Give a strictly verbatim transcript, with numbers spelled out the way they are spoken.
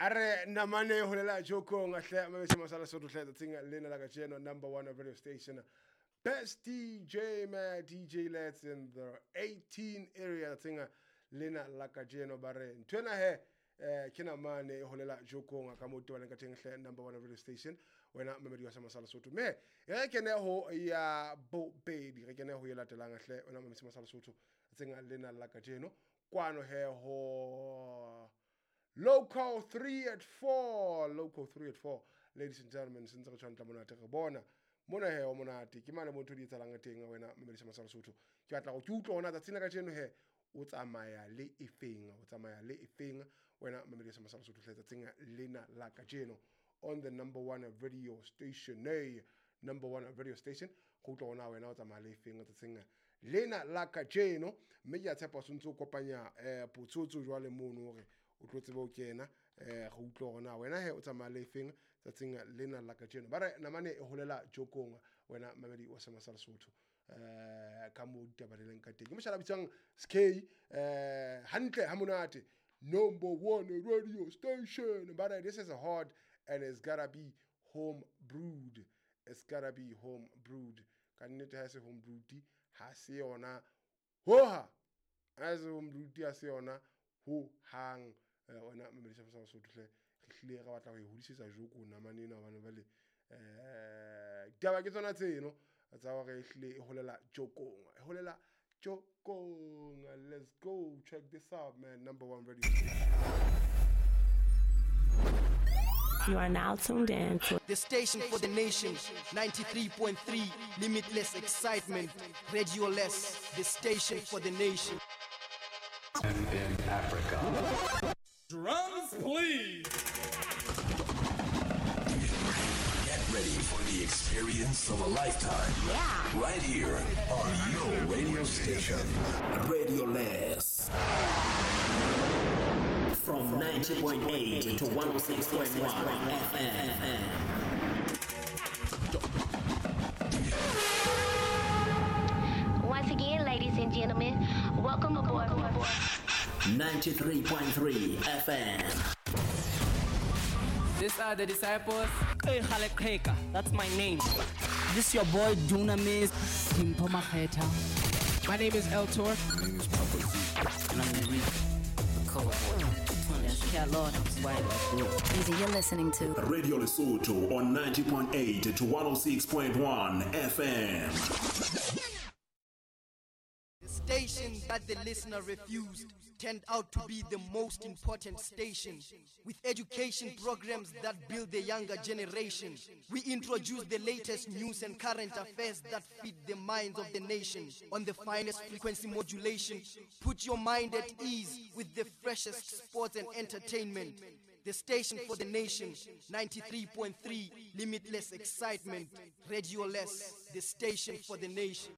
Are namane holela jokong ahle mabese masala sotho hle tsatsing lena la kajeno, number one radio station, best D J man, D J Let's in the eighteen area tsatsing lena la kajeno. Ba re nthwena he eh ke namane holela jokong ka mo tobana ka teng hle, number one radio station, wena mamedi wa sa masala sotho. Me re kene ho ya bobedi, re kene ho e latelang hle wena mamedi masala sotho tsatsing lena la kajeno kwano he ho Local three at four, Local three at four, ladies and gentlemen, since re tshwantla monate re bona mona he o monate ke mane motho di etsalang teng wena mamedi masala sotho. Ke batla go ke utlwe hona tsatsing la kajeno he o tsamaya le efeng, o tsamaya le efeng wena mamedi masala sotho hle tsatsing lena la kajeno on the number one radio station, hey, number one radio station, go utlwa hona wena o tsamaya le efeng tsatsing lena la kajeno. Mme ke a tshepa o ntse o kopanya eh potsotso jwale mono hore o tlo tsebe o kena eh go utlwa hona wena he o tsamaya le efeng tsatsing lena la kajeno. Ba re namane e holela jokong wena mamedi wa Masala Sotho eh ka mo ditaba le leng ka teng. Ke moshala bitswang S K eh hantle ha monate, number one radio station. Ba re this is a hard and it's gotta be home brewed, it's gotta be home brewed. Ka nnete ha se home brewed ha se yona hoha, ha se home brewed ha se yona ho hang. Wena mamedi sa Masala Sotho hle re hlile re batla ho e hodisetsa joko namane ena hobane bale eh ditaba ke tsona tseno tsa hore e hlile e holela jokong, e holela jokong. Let's go check this out, man. Number one radio station. You are now tuned in to the station for the nation, ninety-three point three, limitless excitement, Radio Less, the station for the nation. In Africa. Drums, please. Get ready for the experience of a lifetime. Yeah. Right here on your radio station. Radio Less. From ninety point eight to one oh six point one F M. Once again, ladies and gentlemen, welcome aboard. ninety-three point three F M. These are the disciples. Hey, that's my name. This is your boy Dunamis Kimpo Maketa. My name is El Tor. My name is Papa Z. And I'm Enrique. Easy, you're listening to Radio Lesotho on ninety point eight to one oh six point one F M. The station that the listener refused turned out to be the most important station. With education programs that build the younger generation, we introduce the latest news and current affairs that feed the minds of the nation. On the finest frequency modulation, put your mind at ease with the freshest sports and entertainment. The station for the nation, ninety-three point three, limitless excitement, Radio Less, the station for the nation.